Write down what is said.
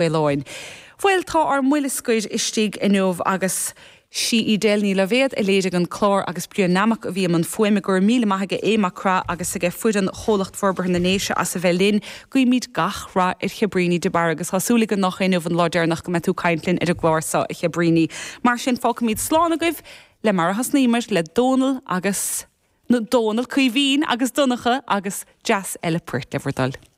Mhaoláin. Bhuel, tá ár mbuille scoir istigh inniu agus sí Edel Ní Loibhéad a léirigh an clár agus Brian Nammock a bhí i mbun fuaime. Go raibh míle maith aige Aodh Mac Craith agus aige foireann Chomhlacht Forbartha na nDéise as a bheith linn. Guímid gach rath ar Chabríní de Barra agus tá súil againn nach é inniu an lá deireanach go mbeidh tú ag caint linn ar an gclár seo, a Chabríní. Mar sin, fágfaimid slán agaibh le mar a thosnaíomar, le Dónal agus, nó Dónal, Caoimhín agus Donncha agus dreas eile poirt le bhur dtoil.